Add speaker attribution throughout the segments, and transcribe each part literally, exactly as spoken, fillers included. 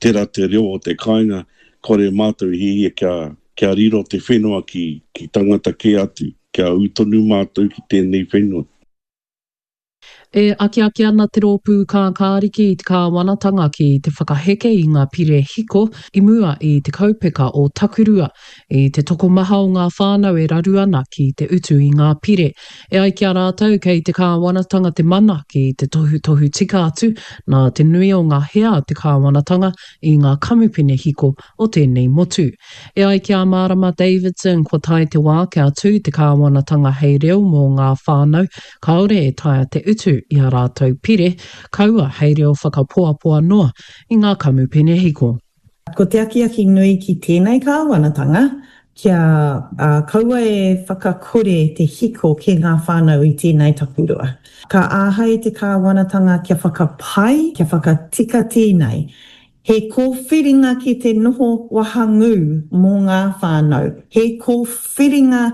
Speaker 1: Tērā te reo o te kāinga, kore mātou i hiahia kia, kia riro te whenua ki, ki tangata kē atu, kia ū tonu mātou ki tēnei whenua.
Speaker 2: E akiaki ana te rōpū kākāriki i te kāwanatanga ki te whakaheke i ngā pire hiko i mua i te kaupeka o Takurua, i te tokomaha o ngā whānau e raru ana ki te utu i ngā pire. E ai ki a rātou kei te kāwanatanga te mana ki te tohutohu tika atu nā te nui o ngā hea a te kāwanatanga i ngā kamupene hiko o tēnei motu. E ai ki a Marama Davidson kua tae te wā kia tū te kāwanatanga hei reo mō ngā whānau kāore e taea te utu i a rātou pire, kaua hei reo whakapoapoa noa i ngā kamupene hiko.
Speaker 3: Ko te akiaki nui ki tēnei kāwanatanga, kia kaua e whakakore te hiko ki ngā whānau i tēnei takurua. Ka āhei te kāwanatanga kia whakapai, kia whakatika tēnei. He kōwhiringa ki te noho wahangū mō ngā whānau, he kōwhiringa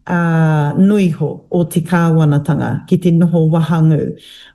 Speaker 3: noiho o te kāwanatanga ki te noho wahangū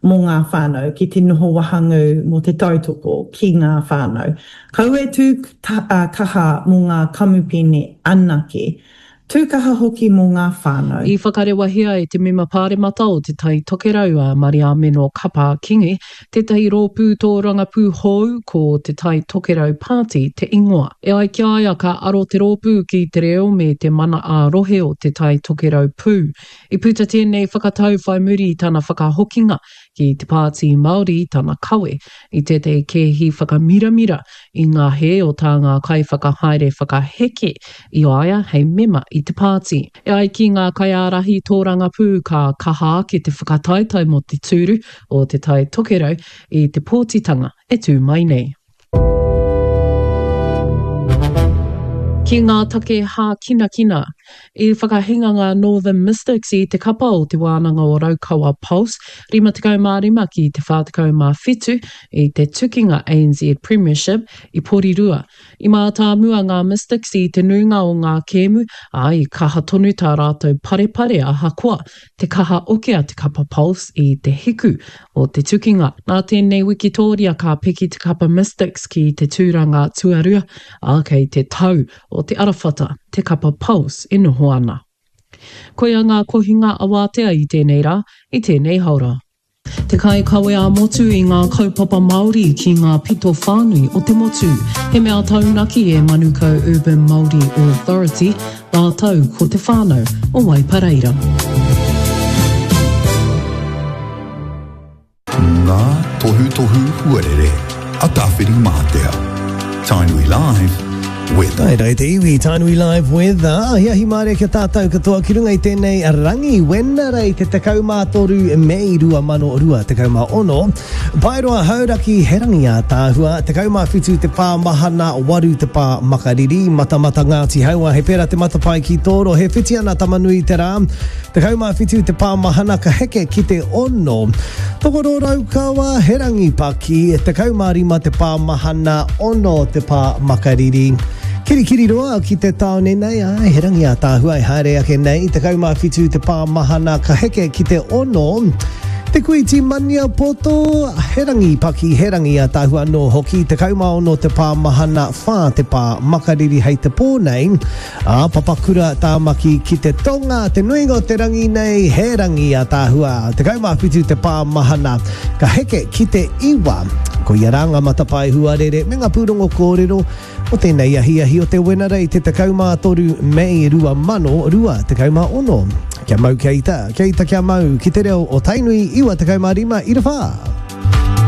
Speaker 3: mō ngā whānau, ki te noho wahangū mō te tautoko ki ngā whānau. Kaua e tū kaha mō ngā kamupene anake, Tū kaha hoki mō ngā whānau.
Speaker 2: I whakarewahia e te Mema Pāremata o Te Tai Tokerau a Mariameno Kapa Kingi tētahi rōpū tōrangapū hou ko Te Tai Tokerau Party te ingoa. E ai ki a ia ka aro te rōpū ki te reo me te mana ā-rohe o Te Tai Tokerau pū. I puta tēnei whakatau whai muri i tana whakahokinga ki te Pāti Māori i tana kawe i tētahi kēhi whakamiramira i ngā hē o tā ngā kaiwhakahaere whakaheke i a ia hei mema i te pāti. E ai ki ngā kaiārahi tōrangapū ka kaha ake te whakataetae mō te tūru o Te Tai Tokerau i te pōtitanga e tū mai nei. Ki ngā take hākinakina, i whakahinga ngā Northern Mystics i te kapa o Te Wānanga o Raukawa Pulse rima tekau mā rima ki te whā tekau mā whitu i te tukinga A N Z Premiership i Porirua. I mātāmua ngā Mystics i te nuinga o ngā kēmu, ā, i kaha tonu tā rātou parepare ahakoa te kaha oke a te kapa Pulse i te hiku o te tukinga. Nā tēnei wikitōria ka piki te kapa Mystics ki te tūranga tuarua, ā, kei te tau o te arawhata te kapa Pulse e noho ana. Koia ngā kohinga awātea i tēnei rā, i tēnei haora. Te kaikawe ā-motu i ngā kaupapa Māori ki ngā pito whānui o te motu. He mea taunaki e Manukau Urban Māori Authority, rātou ko te whānau o Waipareira.
Speaker 4: Ngā tohutohu huarere a Tāwhirimātea. Tainui Live with.
Speaker 5: Tae rā te iwi, Tainui Live with. Ahiahi mārie kia tātou katoa ki runga i tēnei rangi Wenerei te tekau mā toru Mei rua mano rua tekau mā ono. Paeroa Hauraki, he rangi ātaahua, tekau mā whitu te pā mahana, waru te pā makariri, Matamata Ngāti Haua, he pērā te matapae ki tō rohe, whiti ana Tamanui te rā, tekau mā whitu te pā mahana ka heke ki te ono. Tokoro Raukawa, he rangi paki, tekau mā rima te pā mahana, ono te pā makariri. Kirikiriroa ki te tāone nei, āe, he rangi ātaahua e haere ake nei, tekau mā whitu te pā mahana ka heke ki te ono. Te Kuiti Maniapoto, he rangi paki, he rangi ātaahua anō hoki, tekau mā ono te pā mahana, whā te pā makariri hei te pō nei. Ā, Papakura Tāmaki ki te tonga, te nuinga o te rangi nei, he rangi ātaahua, tekau mā whitu te pā mahana, ka heke ki te iwa. Koia rā ngā matapae huarere me ngā pūrongo kōrero o tēnei ahiahi o te Wenerei te tekau mā toru Mei rua mano rua tekau mā ono. Kia mau kia ita, kia ita kia mau, ki te reo o Tainui iwa tekau mā rima ira whā.